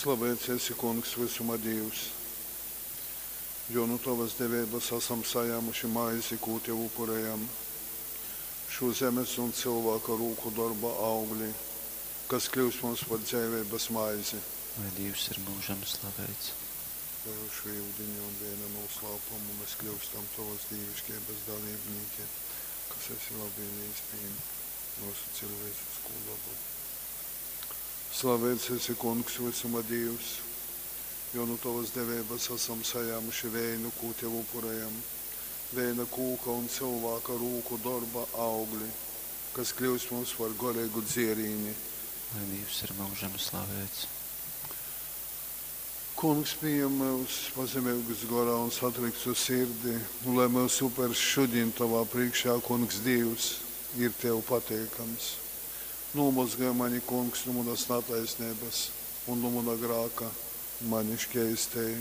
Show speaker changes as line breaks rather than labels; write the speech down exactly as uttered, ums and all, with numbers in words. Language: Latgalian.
Slaveits esi, Kungs, vysuma Dīvs, jo nu tovas deveibas asam sajāmuši maizi, kū tev upurejam, šū zemes un cylvāka rūku dorba augli, kas kļyus mums par dzeiveibas maizi.
Lai Dīvs ir myužam slaveits.
Lai ar šo yudiņa un veina nūslāpumu mēs kļūstam tovas dīviškeibas dalībnīki, kas esi labvēlīgs pīm mūsu cilvēcisko dabu. Slaveits esi, Kungs, vysuma Dīvs, jo nu tovas deveibas asam sajāmuši veinu, kū tev upurejam, veina kūka un cylvāka rūku dorba augli, kas kļūs mums par goreigu dzierīni.
Lai Dīvs ir myužam slaveits.
Kungs, pījem myus pazemeigus gorā un satriktu sirdi, un lai mūsu upers šodien tovā priekšā, Kungs Dīvs, ir tev pateikams. Nomazgāj mani, Kungs, no manas netaisnības un no mana grāka mani šķeistēji.